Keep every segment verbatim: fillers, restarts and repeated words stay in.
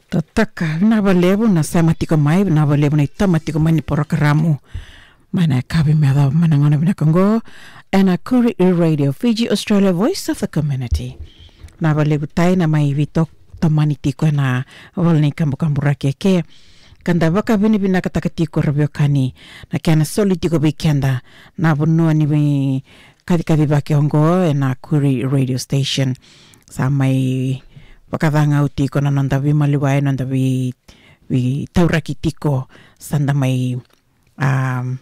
Tataka, vinaka vakalevu na sema tiko mai, vinaka vakalevu na itama tiko mai ni porokaramu. Mai na yakavi me yacova mai na gauna vinaka oqo, ena Koori Radio Fiji Australia, Voice of the Community. Vinaka vakalevu tai na mai veitotomani tiko ena ivola ni kabukabu Rakeke. Ka da vakavinavinakataka tiko, ra veiwekani, na kena soli tiko vei keda na vanua ni vei kacikacivaki oqo ena Koori Radio Station. Sa mai vakacagau tiko na noda veimaliwai, noda vei, veitauraki tiko, sa da mai, um,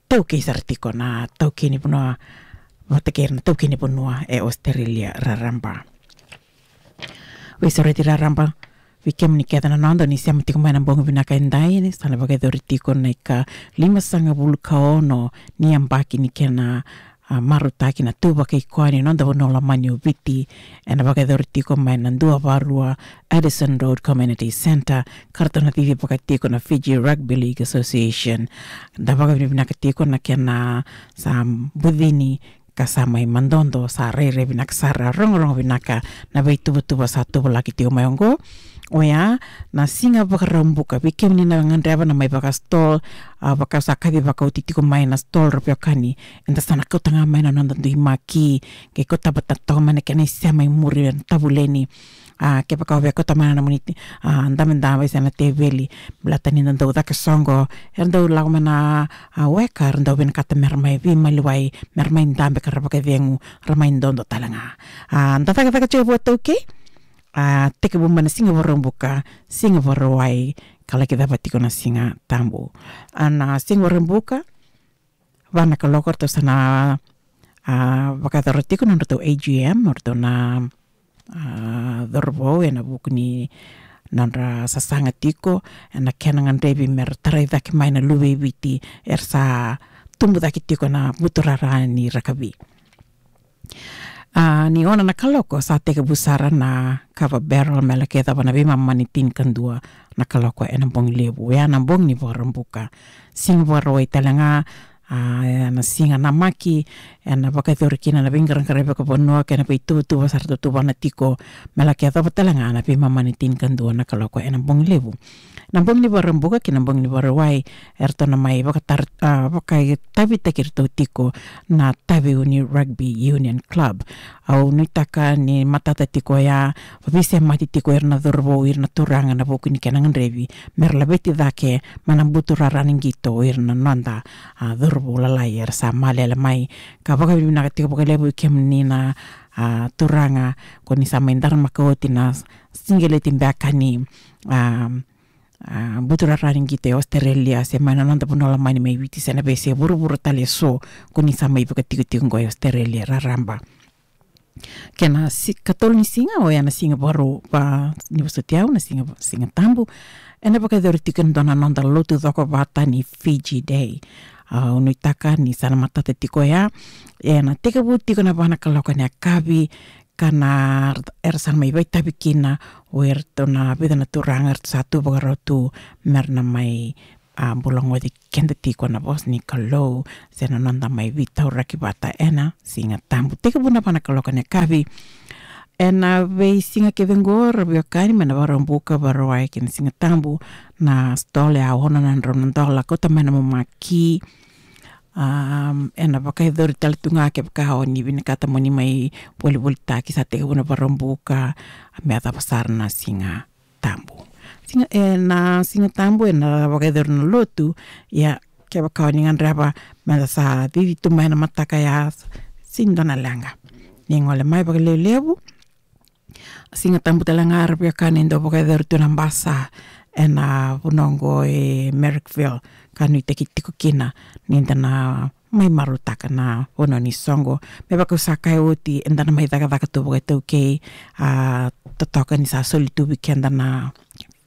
taukei sara tiko na taukei ni vanua vata kei ira na taukei ni vanua e Australia raraba. Veisureti raraba vei kemuni kece na noda ni sema tiko mai na bogi vinaka edai, ni sa na vakayacori tiko na ikalimasagavulu ka ono ni yabaki ni kena, a, marautaki na tu vakaikoya ni noda vanua lomani o Viti, ena vakayacori tiko mai na dua va rua Addison Road Community Centre, ka ratou na cicivaka tiko na Fiji Rugby League Association. Da vakavinavinaka tiko na kena sa bucini ka sa mai madodo, sa rairai vinaka sara, rogorogo vinaka na veituvatuva sa tuvalaki tiko mai oqo. Oya na Siga Vakaraubuka, vei kemuni na gadreva na mai vaka stall, a, vaka sa kacivaka oti tiko mai na stall, ra veiwekani, eda sa na kauta ga mai na noda dui maki, ke kauta vata toka mai na kena isema i muri, na tavuleni. A, kevaka o via kauta mai na nomuni, a, dabedabe se na teveli, baleta ni da dau caka soqo, era dau lako mai na, a, weka, era dau vinakata mera mai veimaliwai, mera mai dabe ka ra vakacegu, ra mai dodo tale ga. A, da cakacaka tiko vua taukei, a, tekivu mai na Siga Vakaraubuka, Siga Vakarauwai, ka laki cava tiko na Siga Tabu. A, na Siga Vakaraubuka, va na kaloko ratou sa na, a, vakayacora tiko na nodratou A G M, o ratou na, a, cauravou, ena vuku ni nodra sasaga tiko ena kena gadrevi mera tarai cake mai na luve i Viti era sa tubu cake tiko ena buturara ni rakavi. A, ni ono na kaloko sa tekivu sara na kava barrel me laki yacova na veimama ni tinikadua na kaloko ena bogi levu. Oya na bogi ni Vakaraubuka. Siga Vakarauwai tale ga, a, ena siga namaki, ena vakayacori kina na veiqaraqaravi vakavanua kei na veituvatuva sa ratou tuvana tiko, me laki yacova tale ga na veimama ni tinikadua na kaloko ena bogi levu. Na bogi ni Vakaraubuka kei na bogi ni Vakarauwai, eratou na mai vakatar-, a, vakaitavitaki iratou tiko na Taveuni Rugby Union Club. Au nuitaka ni matata tiko oya, veisemati tiko ira na cauravou, ira na turaga ena vuku ni kena gadrevi mera laveti cake mai na buturara ni qito o ira na noda, a, cauravou lalai era sa malele mai. Ka vakavinavinaka tiko vakalevu vei kemuni na, a, turaga, ko ni sa mai daramaka oti na siqeleti beka ni, a, a, buturara ni qito e Australia, se mai na noda vanua lomani mai Viti, se na veiyasai vuravura tale eso, ko ni sa mai vakatikotiko oqo e Australia raraba. Kena si-, katolu ni siga, oya na Siga Vakarau, va, ni vosoti au, na Siga, Siga Tabu, ena vakayacori tiko e dua na noda lotu cokovata ni Fiji Day. A, au nuitaka ni sa na matata tiko oya, ena tekivu tiko ena va na kaloko ena yakavi, ka na, era sa na mai vakaitavi kina o iratou na vica na turaga eratou sa tu vakarau tu mera na mai, a, bula goci keda tiko ena vosa ni Kalou, se na noda mai veitauraki vata ena Siga Tabu. Tekivu ena va na kaloko ena yakavi. Ena veisiga kece oqo, ra veiwekani, mai na Vakaraubuka, Vakarauwai kei na Siga Tabu, na stall e ono na drau na dola, kauta mai na maki. Um, ena vakayacori tale tu ga kevaka o ni vinakata mo ni mai volivolitaki, sa tekivu ena Vakaraubuka me yacova sara na Siga Tabu. Siga, ena Siga Tabu ena vakayacori na lotu, ia kevaka o ni gadreva meda sa cici tu mai ena mataka ya, sega ni dua na leqa. Ni gole mai vakalevulevu. Siga Tabu tale ga, ra veiwekani, e dau vakayacori tu na basa ena vanua oqo e Marrickville, ka nuitaki tiko kina ni da na mai marautaka na vanua ni soqo. Me vaka au sa kaya oti, eda na mai cakacaka tu vakaitaukei, a, totoka ni sa soli tu vei keda na,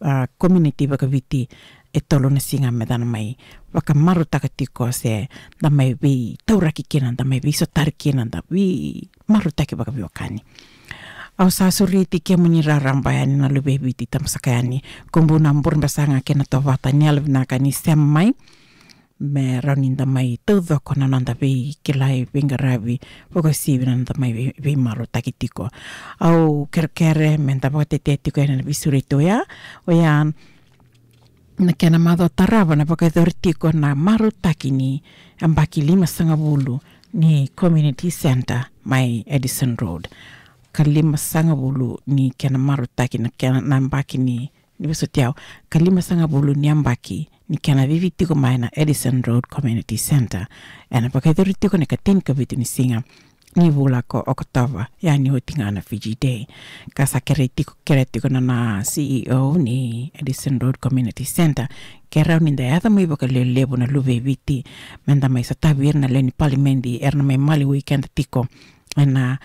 a, community vakaviti e tolu na siga meda na mai vakamarautaka tiko, se da mai veitauraki kina, da mai veisotari kina, da vei marautaki vakaveiwekani. Au sa sureti kemuni raraba yani na luve i Viti, tabasaka yani, ko Buna Burebasaga kei na Tovata, ni yalovinaka ni sema mai. me rawa ni da mai taucoko na noda veikilai, veiqaravi, vakauasivi na noda mai vei, veimarautaki tiko. Au kerekere me da vakatetea tiko ena veisureti oya, oya na kena macawa tarava na vakayacori tiko na marautaki ni yabaki limasagavulu ni community centre mai Addison Road. Ka limasagavulu ni kena marautaki na kena, na yabaki ni, ni vosoti au, ka limasagavulu ni yabaki ni kena cici tiko mai na Addison Road Community Centre. Ena vakayacori tiko na ikatini ka vitu ni siga ni vula ko Okotova, ya ni oti ga na Fiji Day. Ka sa kerei tiko, kerea tiko na, na C E O ni Addison Road Community Centre, ke rawa ni da yaco mai vakalevulevu na luve i Viti, me da mai sotavi ira na lewe ni palimedi era na mai maliwai keda tiko ena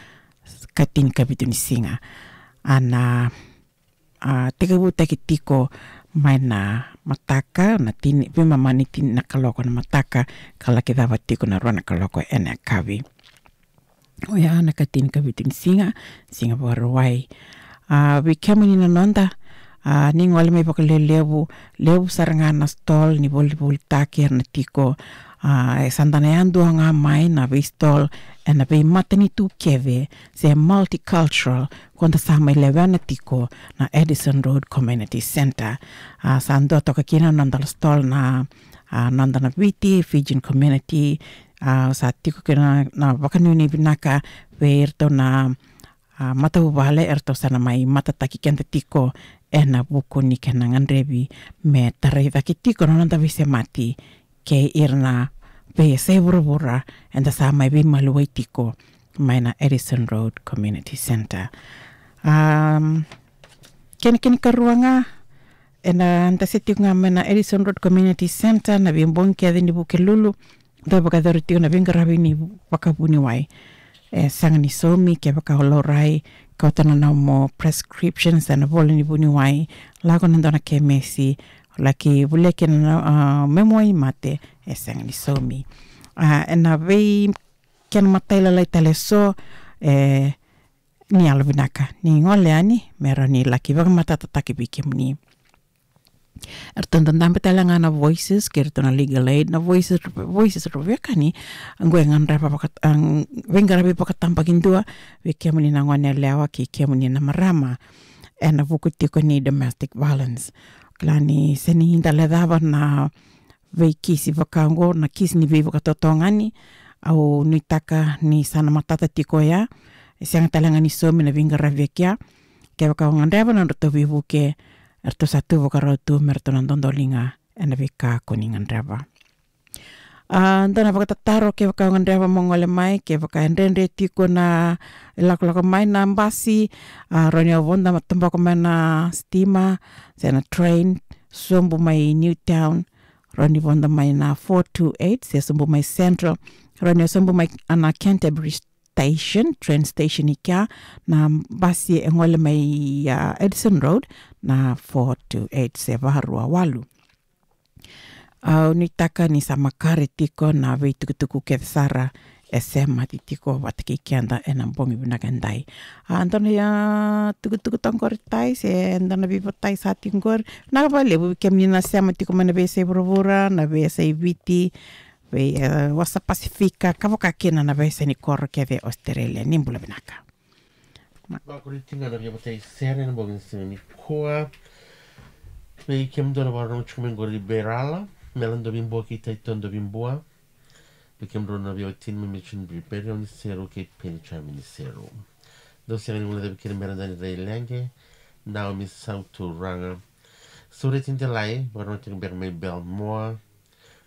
ikatini ka vitu ni siga. A na, a, tekivutaki tiko mai na mataka, na tini, veimama ni tini na kaloko na mataka, ka laki cava tiko na rua na kaloko ena yakavi. Oya na ikatini ka vitu ni siga, siga Vakarauwai. A, vei kemuni na noda, a, ni gole mai vakalevulevu, levu sara ga na stall ni volivolitaki era na tiko. A, e sa da na yadua ga mai na veistall ena veimatanitu kece, se multicultural, ko da sa mai lewena tiko na Addison Road Community Centre. A, sa dua toka kina na noda stall na, a, noda na Viti, Fijian community, a, sa tiko kina na, na vakanuinui vinaka vei iratou na, a, matavuvale, eratou sa na mai matataki keda tiko ena vuku ni kena gadrevi me tarai cake tiko na noda veisemati kei ira na veiyasai vuravura eda sa mai veimaliwai tiko mai na Addison Road Community Centre. Am, kena, kena ikarua ga, ena da se tiko ga mai na Addison Road Community Centre, na veibogi kece ni Vukelulu, da vakayacori tiko na veiqaravi ni vakavuniwai. E sega ni saumi, kevaka o laurai, kauta na nomu prescriptions, ena vola ni vuniwai, lako na dua na kemesi, laki volia kina na, a, memu waimate, e sega ni saumi. A, ena vei kena matailalai tale eso, e, ni yalovinaka ni gole yani me rawa ni laki vakamatatataki vei kemuni. Eratou dadabe tale ga na Voices kei iratou na Legal Aid, na Voices, Voices rau veiwekani, oqo e gadreva vaka, a, veiqaravi vakatabakidua vei kemuni na gone yalewa kei kemuni na marama ena vuku tiko ni domestic violence. Kila ni se ni da lecava na veikisi vaka oqo, na kisi ni veivakatotogani, au nuitaka ni sa na matata tiko oya. E sega tale ga ni saumi na veiqaravi e kea. Kevaka o gadreva na nodratou veivuke, eratou sa tu vakarau tu me ratou na dodoliga ena veika ko ni gadreva. A, dua na vakatataro, kevaka o gadreva mo gole mai, kevaka e dredre tiko na ilakolako mai na basi, a, rawa ni o vodo mai, tabaka mai na sitima se na train, sobu mai Newtown, rawa ni vodo mai na four two eight, se sobu mai Central, rawa ni o sobu mai na Canterbury Station, train station i kea, na basi e gole mai, a, Addison Road, na four two eight se varua walu. Au nuitaka ni sa makare tiko na veitukutuku kece sara e semati tiko vata kei keda ena bogi vinaka edai. A, dua na, a, tukutuku toka qori, Tai, se dua na veivotai sa tiko qori. Vinaka vakalevu vei kemuni na sema tiko mai na veiyasai vuravura, na veiyasai Viti, vei, e, wasa Pasifika, ka vaka kina na veiyasai ni koro kece e Australia. Ni bula vinaka. Vakuriti ga na veivotai sere ena bogi ni siga nikua. Vei kemudou na vakarorogo tiko mai qori i Berala, Mela Dovibua kei Taito Dovibua. Vei kemudou na veiwatini mai Mission View, Peri Niseru kei Peni Chami Niseru. Dou sega ni guilecavi kina Mera Dani Raileqe, Naomi Sauturaga, Sureti Delai, vakarorogo tiko beka mai Belmore,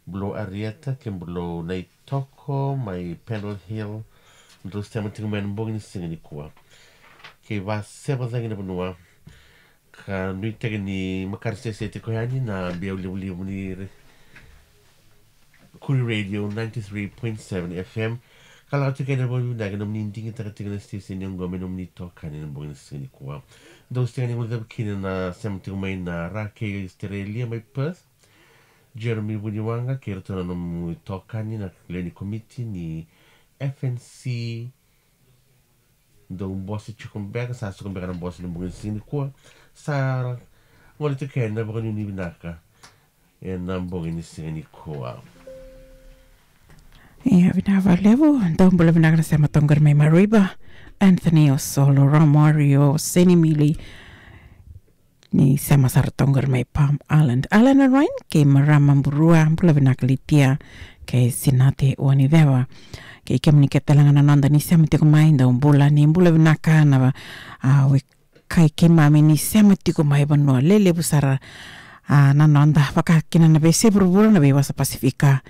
Bulou Arieta kei Bulou Naitoko mai Pendle Hill. Drau sema tiko mai na bogi ni siga nikua. Kei vaseva cagi na vanua, ka nuitaki ni makare sese tiko yani na biau livaliva ni re-, Kuri Radio ninety-three point seven F M. Ka lako tiko yani na bogi vinaka, nomuni digitaka tiko na station oqo me nomuni itokani na bogi ni siga nikua. Dou sega ni guilecavi kina na sema tiko mai na Ra kei Australia mai Perth, Jeremy Vuniwaqa kei iratou na nomu itokani na lewe ni komiti ni F N C. Dou bose tiko beka, sa suka beka na bose ena bogi ni siga nikua. Sa gole tiko yani na vakanuinui vinaka ena bogi ni siga nikua. Ia, vinaka vakalevu. Dou bula vinaka na sema toka qori mai Mareeba. Anthony, o Solo, Romario, Seni Mili. Ni sema sara toka qori mai Palm Island. Alan Ryan, kei marama Burua, bula vinaka Litia, kei Sinate Waniceva. Kei kemuni kece talega na noda ni sema tiko mai, dou bula, ni bula vinaka na, a, we kai keimami ni sema tiko mai vanua lelevu sara, a, na noda, vaka kina na veiyasai vuravura, na veiwasa Pasifika.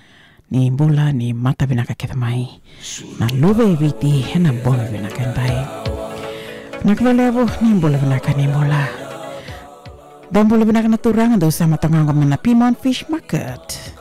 Ni bula, ni mata vinaka kece mai na luve i Viti ena bogi vinaka edai. Vinaka vakalevu, ni bula vinaka, ni bula. Dou bula vinaka na turaga, dou sema toka qo mai na Pyrmont Fish Market.